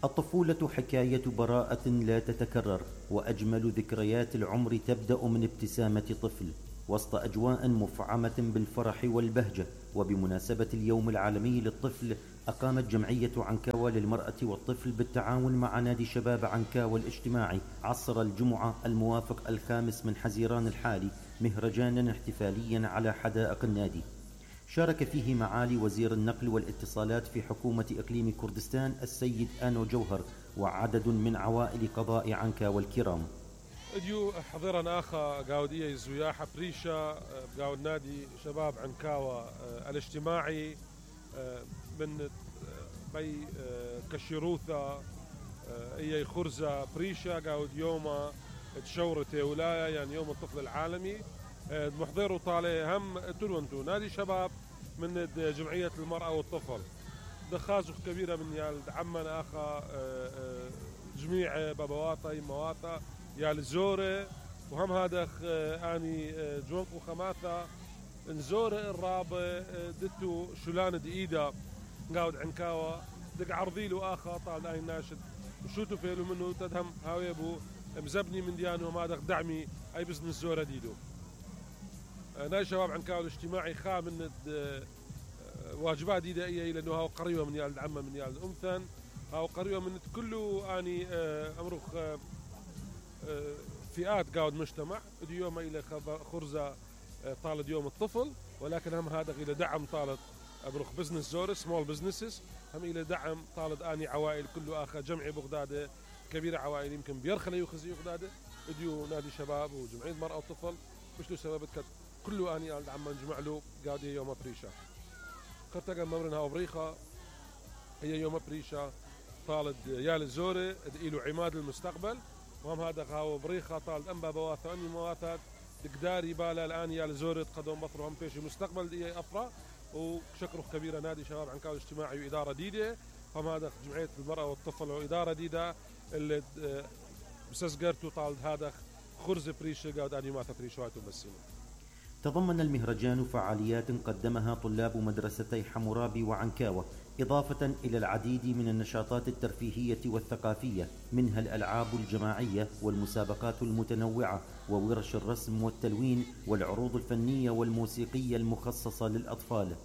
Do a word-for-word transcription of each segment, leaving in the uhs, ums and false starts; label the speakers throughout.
Speaker 1: الطفولة حكاية براءة لا تتكرر، وأجمل ذكريات العمر تبدأ من ابتسامة طفل وسط أجواء مفعمة بالفرح والبهجة. وبمناسبة اليوم العالمي للطفل، أقامت جمعية عنكاوى للمرأة والطفل بالتعاون مع نادي شباب عنكاوى الاجتماعي عصر الجمعة الموافق الخامس من حزيران الحالي مهرجانا احتفاليا على حدائق النادي، شارك فيه معالي وزير النقل والاتصالات في حكومة إقليم كردستان السيد آنو جوهر وعدد من عوائل قضاء عنكاوى الكرام.
Speaker 2: اديو حضرنا اخا قاودية الزياحة بريشة قاود نادي شباب عنكاوى الاجتماعي من بي كشروثة اي خرزة بريشة قاود يوم تشورة ولاية يعني يوم الطفل العالمي محضر طالع هم تلونتو نادي شباب من جمعية المرأة والطفل دخازخ كبيرة من يال عمنا اخا جميع بابواتا يمواتا يال زورة وهم هذا اني جونك وخماثة نزورة الرابع دتو شلان دقيدة قاود عنكاوى دق عرضيلو اخا طال اي ناشد وشوتو فيلو منه تدهم هاوي ابو مزبني من ديانو ما دق دعمي اي بزنس زورة ديدو. نادي شباب عنكاوى الاجتماعي خا من واجبات ديدائية لانه هاو قريبة من يال العمة من يال الامثن هاو قريبة من كله اني امرخ فئات قاود مجتمع اليوم الى خرزة طالد يوم الطفل ولكن هم هذا الى دعم طالد ابرخ بزنس زور سمول بزنسز هم الى دعم طالد اني عوائل كله اخر جمعي بغداد كبيره عوائل يمكن بيرخلي يخزي بغداد اديو نادي شباب وجمعيه المراه والطفل مش له سبب كله اني عم نجمع له قاعد يوم بريشه خرتقا ممرنها وبريخه هي يوم بريشه طالد يال الزوري له عماد المستقبل وهم هذا هاو بريخه طالد انبا بواثا اني مواثات تقداري بالا الان يال زوري تقدم بطر هم فيش مستقبل دي افرا وشكره كبيره نادي شباب عنكاوى الاجتماعي واداره ديده هم هذا جمعيه المراه والطفل واداره ديده اللي بسسقرتو طالد هذا خرز بريشه قاعد اني ما تفريشواتو بس.
Speaker 1: تضمن المهرجان فعاليات قدمها طلاب مدرستي حمورابي وعنكاوى إضافة إلى العديد من النشاطات الترفيهية والثقافية منها الألعاب الجماعية والمسابقات المتنوعة وورش الرسم والتلوين والعروض الفنية والموسيقية المخصصة للأطفال،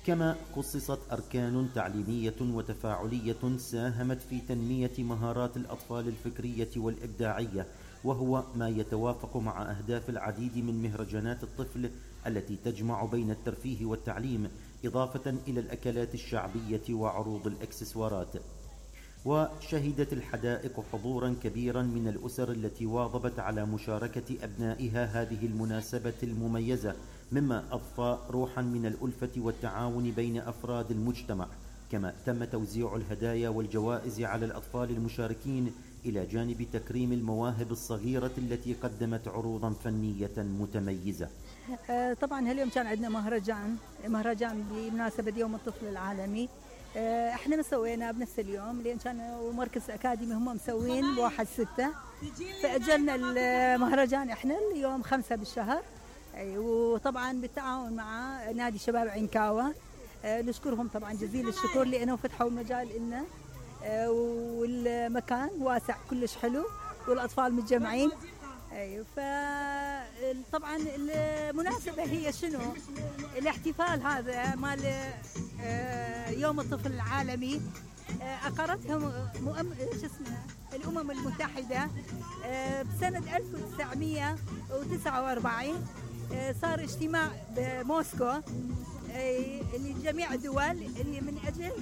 Speaker 1: كما خصصت أركان تعليمية وتفاعلية ساهمت في تنمية مهارات الأطفال الفكرية والإبداعية، وهو ما يتوافق مع أهداف العديد من مهرجانات الطفل التي تجمع بين الترفيه والتعليم إضافة إلى الأكلات الشعبية وعروض الإكسسوارات. وشهدت الحدائق حضورا كبيرا من الأسر التي واظبت على مشاركة أبنائها هذه المناسبة المميزة، مما أضفى روحا من الألفة والتعاون بين أفراد المجتمع. كما تم توزيع الهدايا والجوائز على الأطفال المشاركين إلى جانب تكريم المواهب الصغيرة التي قدمت عروضا فنية متميزة.
Speaker 3: طبعا هاليوم كان عندنا مهرجان مهرجان بمناسبة يوم الطفل العالمي. احنا مسوينا بنفس اليوم لان كانوا مركز اكاديمي هم مسوين بواحد ستة فاجلنا المهرجان احنا اليوم خمسة بالشهر، وطبعا بالتعاون مع نادي شباب عنكاوى نشكرهم طبعا جزيل الشكر لانه فتحوا المجال لنا والمكان واسع كلش حلو والاطفال متجمعين. ايوه فطبعا المناسبه هي شنو؟ الاحتفال هذا مال يوم الطفل العالمي اقرتها مؤم... شو اسمها الامم المتحده بسنه ألف وتسعمئة وتسعة وأربعين، صار اجتماع بموسكو لجميع الدول اللي من اجل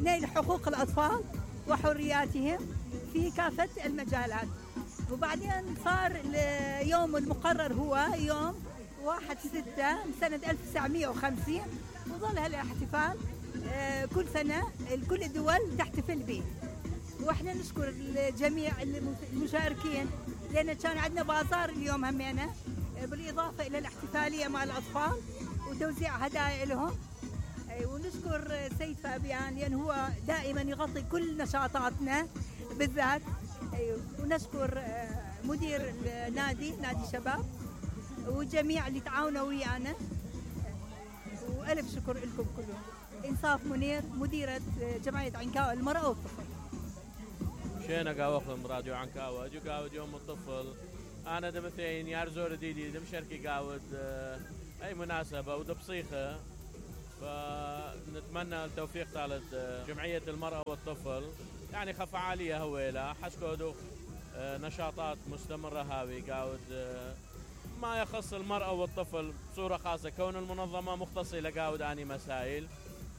Speaker 3: نيل حقوق الاطفال وحرياتهم في كافه المجالات. وبعدين صار اليوم المقرر هو يوم واحد ستة سنة ألف وتسعمئة وخمسين، وظل هالاحتفال كل سنة كل الدول تحتفل به. واحنا نشكر الجميع المشاركين لأن كان عندنا بازار اليوم همينا بالإضافة إلى الاحتفالية مع الأطفال وتوزيع هدايا لهم. ونشكر سيد فابيان لأن هو دائما يغطي كل نشاطاتنا بالذات. ونشكر مدير النادي نادي شباب والجميع اللي تعاونوا ويانا، والف شكر لكم كلهم. انصاف منير مديرة جمعية عنكاوى المرأة والطفل.
Speaker 4: شينا قاوخهم راديو عنكاوة جو قاود يوم الطفل. أنا دمثين يارزور ديدي دم شركي قاود أي مناسبة ودبصيخة. فنتمنى التوفيق طالت جمعية المرأة والطفل يعني خفعالية هويلة حسكودو نشاطات مستمرة هاوي قاود ما يخص المرأة والطفل بصورة خاصة كون المنظمة مختصة لقاود آني مسائل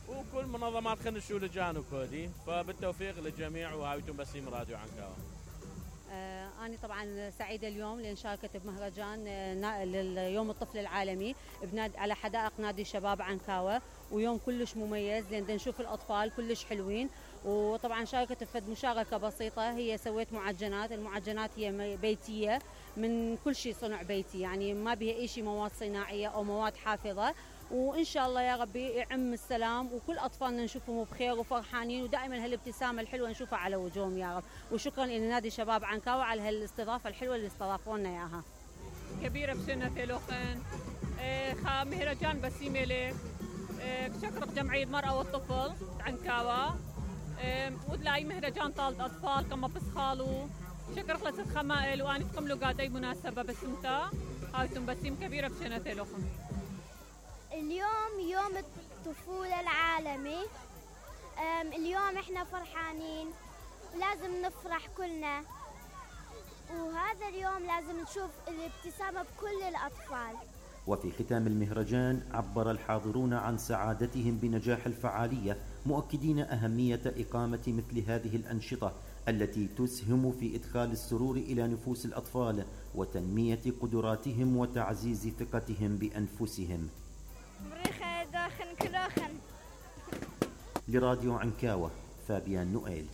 Speaker 4: وكل منظمات خنشو لجانو كودي. فبالتوفيق للجميع وهاويتم بسيم راديو عنكاوة.
Speaker 5: آه أنا طبعا سعيدة اليوم لأن شاركت بمهرجان آه لليوم الطفل العالمي بناد على حدائق نادي شباب عنكاوة ويوم كلش مميز لأن نشوف الأطفال كلش حلوين. وطبعا شاركت بفد مشاركة بسيطة هي سويت معجنات. المعجنات هي بيتية من كل شيء صنع بيتي يعني ما بها أي شيء مواد صناعية أو مواد حافظة. وإن شاء الله يا ربي يعم السلام وكل أطفالنا نشوفهم بخير وفرحانين ودائما هالابتسامة الحلوة نشوفها على وجوههم يا رب. وشكرا إلى نادي شباب عنكاوة على هالاستضافة الحلوة اللي استضافونا إياها.
Speaker 6: كبيرة بسنة لوخن خا مهرجان بسيمة لك شكرا جمعية المرأة والطفل عنكاوة ودلاي مهرجان طالت أطفال كما بسخالو شكرا خلصت خمائل وأنا تقملوا قادي مناسبة بسمتا هايتم بسيم كبيرة بسنة لوخن.
Speaker 7: اليوم يوم الطفولة العالمي. اليوم احنا فرحانين ولازم نفرح كلنا وهذا اليوم لازم نشوف الابتسامة بكل الأطفال.
Speaker 1: وفي ختام المهرجان عبر الحاضرون عن سعادتهم بنجاح الفعالية مؤكدين أهمية إقامة مثل هذه الأنشطة التي تسهم في إدخال السرور إلى نفوس الأطفال وتنمية قدراتهم وتعزيز ثقتهم بأنفسهم. لراديو عنكاوة فابيان نوئيل.